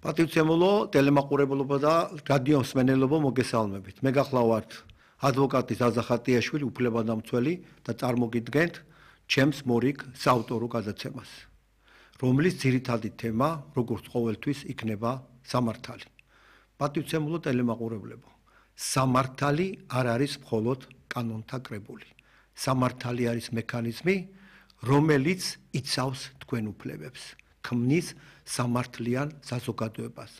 პატივცემულო ტელემაყურებლობა და რადიო მსმენელობა მოგესალმებით. მე გახლავართ ადვოკატი ზაზა ხატიაშვილი, უფლებადამცველი და წარმოგიდგენთ ჩემს მორიგ საავტორო გადაცემას, რომლის ძირითადი თემა, როგორც ყოველთვის, იქნება სამართალი. პატივცემულო ტელემაყურებლებო, სამართალი არ არის მხოლოდ კანონთა კრებული. სამართალი არის მექანიზმი, რომელიც იცავს თქვენ უფლებებს, ქმნის სამართლიან საზოგადოებას,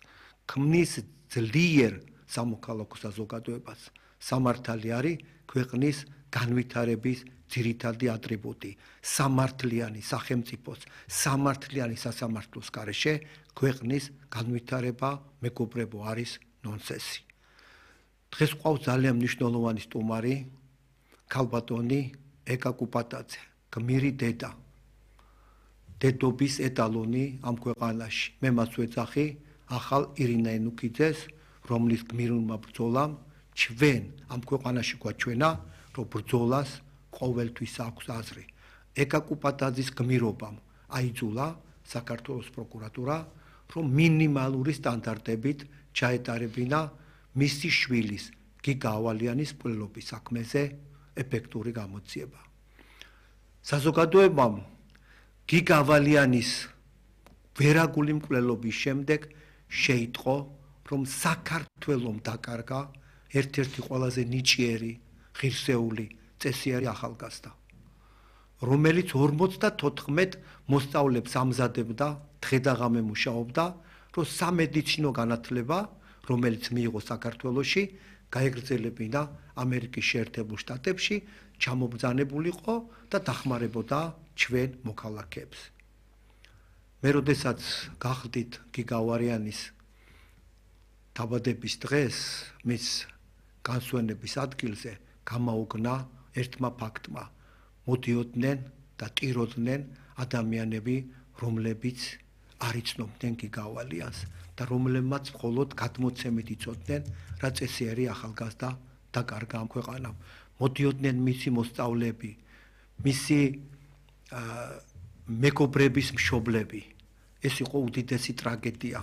ქმნის ძლიერ სამოქალაქო საზოგადოებას. სამართალი არის ქვეყნის განვითარების ძირითადი ატრიბუტი. სამართლიანი სახელმწიფოს, სამართლიანი სასამართლოს გარეშე ქვეყნის განვითარება, მეგობრებო, არის ნონსენსი. დღეს ყავს ძალიან მნიშვნელოვანი სტუმარი, ქალბატონი ეკა კუპატაძე, გმირი დედა, დედობის ეტალონი ამ ქვეყანაში. მე მას ვეძახი ახალ ირინა ენუქიძეს, რომლის გმირულმა ბრძოლამ ჩვენ ამ ქვეყანაში გვაჩვენა, რომ ბრძოლას ყოველთვის აქვს აზრი. ეკა კუპატაძის გმირობამ აიძულა საქართველოს პროკურატურა, რომ მინიმალური სტანდარტებით ჩაეტარებინა მისი შვილის გიგა ავალიანის მკვლელობის საქმეზე ეფექტური გამოძიება. საზოგადოებამ გიგა ავალიანის ვერაგული მკვლელობის შემდეგ შეიტყო, რომ საქართველომ დაკარგა ერთ-ერთი ყველაზე ნიჭიერი, ღირსეული, წესიერი ახალგაზრდა, რომელიც 54 მოსწავლებს ამზადებდა, დღე-დაღამე მუშაობდა, რომ სამედიცინო განათლება, რომელიც მიიღო საქართველოში, გაეგრძელებინა ამერიკის შეერთებულ შტატებში, ჩამობრძანებულიყო და დახმარებოდა ჩვენ მოქალაქეებს. მე როდესაც გახდით გიგა ავალიანის დაბადების დღეს, მის განსვენების ადგილზე გამაოგნა ერთმა ფაქტმა. მოდიოდნენ და ტიროდნენ ადამიანები, რომლებიც არ იცნობდნენ გიგა ავალიანს და რომლებმაც მხოლოდ გადმოცემით იცოდნენ, რა წესიერი ახალგაზრდა დაკარგა ამ ქვეყანამ. მოდიოდნენ მისი მოსწავლეები, მისი მეგობრების მშობლები. ეს იყო უდიდესი ტრაგედია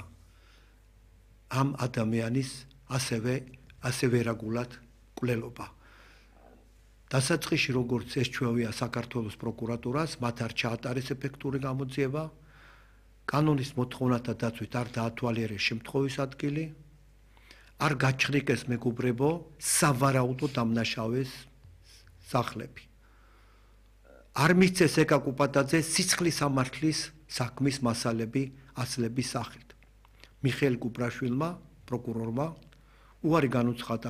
ამ ადამიანის ასე ვერაგულად მკვლელობა. დასაწყისში, როგორც ესჩვევია საქართველოს პროკურატურას, მათ არ ჩაატარეს ეფექტური გამოძიება, კანონის მოთხოვნათა დაცვით არ დაათვალიერეს შემთხვევის ადგილი, არ გაჩხრიკეს მეგობრებო სავარაუდო დამნაშავეს სახლები. არ მისცეს ეკა კუპატაძეს სიცხლის სამართლის საქმის მასალები ასლების სახით. მიხეილ კუპრაშვილმა, პროკურორმა, უარი განუცხადა